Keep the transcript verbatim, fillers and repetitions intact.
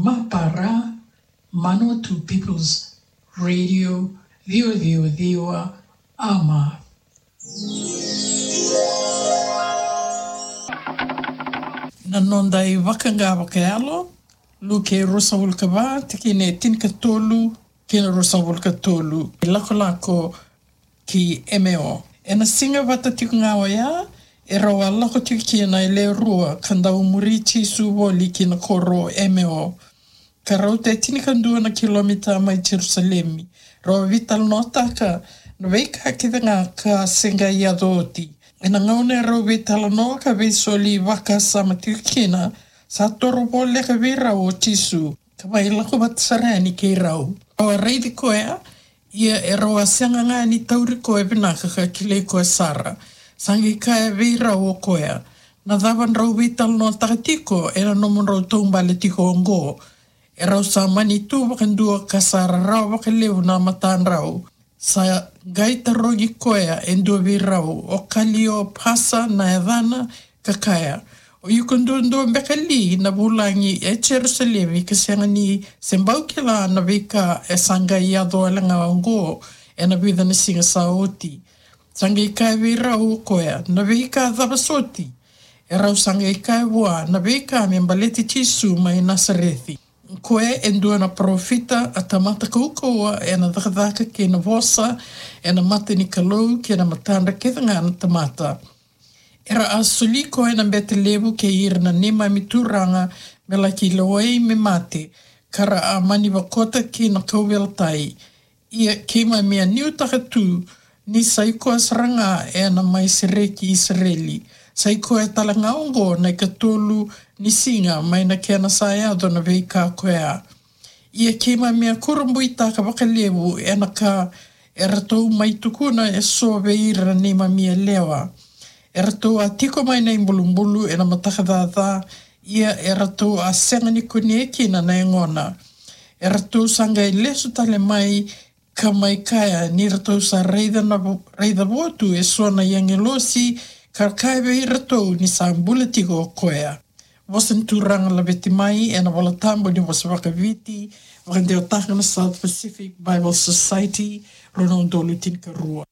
Para Manawatu People's Radio, ciwa ciwa ciwa, ama. Na noda iVakaqa Vakayalo, Luke ruasagavulu ka va, tikina e tinikatolu kei na ruasagavulu ka tolu. Ilakolako ki Emeo. Ena siga vata tiko ga oya, e rau a lako tiko kina e le rua ka dau muri Jisu voli ki na koro o Emeo, ka rauta e tinikadua na kilomita mai Jerusalemi. Rau a veitalanoataka na veika kece ga ka se qai yaco oti. Ena gauna e rau veitalanoa ka veisoli vakasama tiko kina, sa toro voleka vei rau o Jisu ka mai lako vata sara yani kei rau. Rau a raici koya, ia e rau a sega ga ni tauri koya vinaka ka kilai koya sara. Sa qai kaya vei rau o koya, na cava drau veitalanoataka tiko ena nomudrau taubale tiko oqo? E rau sa mani tu vakadua ka sa rarawa vakalevu na matadrau. Sa qai tarogi koya e dua vei rau, o Kaliopasa na yacana, ka kaya, o iko duadua beka li na vulagi e Jerusalemi ka sega ni se bau kila na veika e sa qai yaco wale ga oqo ena vica na siga sa oti? Sa qai kaya vei rau o koya, na veika cava soti? E rau sa qai kaya vua na veika me baleti Jisu mai Nasareci. Koya e dua na parofita, a tamata kaukauwa ena cakacaka kei na vosa ena mata ni Kalou kei na matadra kece ga na tamata. Era a soli koya na bete levu kei ira na neimami turaga me laki lewai me mate, ka ra a mani vakota ki na kauveilatai. Ia keimami a nuitaka tu ni sa i koya sara ga ena mai sereki Isireli. Sa i koya tale ga oqo na ikatolu ni siga mai na kena sa yaco na veika koya. Ia keimami a kurabuitaka vakalevu ena ka eratou mai tukuna eso vei ira na neimami yalewa. Eratou a tiko mai na ibulubulu ena mataka caca, ia eratou a sega ni kunea kina na yagona. Eratou sa qai lesu tale mai ka mai kaya ni ratou sa raica na vo-, raica votu eso na agilosi, ka kaya vei iratou ni sa bula tiko o koya. Vosa ni Turaga laveti mai ena Volatabu ni vosa vakaViti, vakadewataka na South Pacific Bible Society, rua na udolu tinikarua.